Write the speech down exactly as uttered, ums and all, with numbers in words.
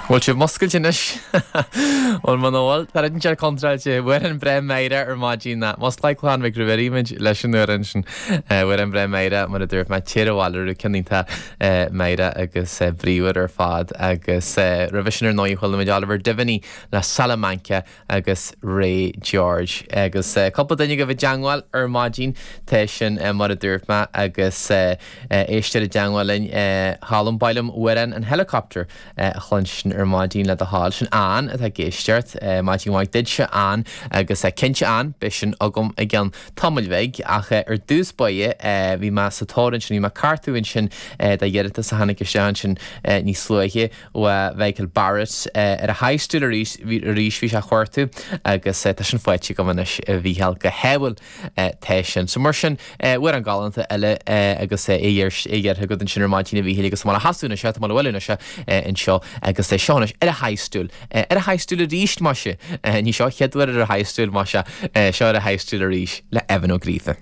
Bhfuil sibh muscailte anois? Bhuel muna bhfuil, tá rud inteacht contráilte, amhrán breá Máire ar maidin ná Musclaigh Clann Mhic Ruairí muid leis an amhrán sin. Amhrán breá Máire mar a dúirt mé, Téir Abhaile Rú ceann iontach Máire agus bríomhar ar fad agus roimhe sin ar ndóigh chuala muid Oliver Devaney le Salamanca agus Ray George agus cúpla duine agaibh i dteangmháil ar maidin tá sin mar a dúirt mé agus éisteoir i dteangmháil linn Cholm ba mhaith liom amhrán an Helicopter a chluinstin ar maidin le do thoil. Sin Ann atá ag éisteacht. Maidin mhaith duitse Ann agus cinnte Ann, beidh sin agam i gceann tamaill bhig ach ar dtús báire bhí mé sa tóir ansin, bhí mé ag cuartú ansin do iarratas a tháinig isteach ansin níos luaithe ó Mhichael Barrett ar a high stool arís arís bhí sé a chuartú agus tá sin faighte agam anois a Mhícheáil go hádhúil tá sin. So mar sin amhrán galánta eile agus é iarrtha agat ansin ar maidin a Mhíchíl agus tá mé le hasú anois, tá mé le bhailiú anois anseo agus é seo anois ar a high stool. Ar a high stool arís maise. Ní seo chéad uair ar a high stool maise seo ar a high stool arís le Evan Ó Gríofa.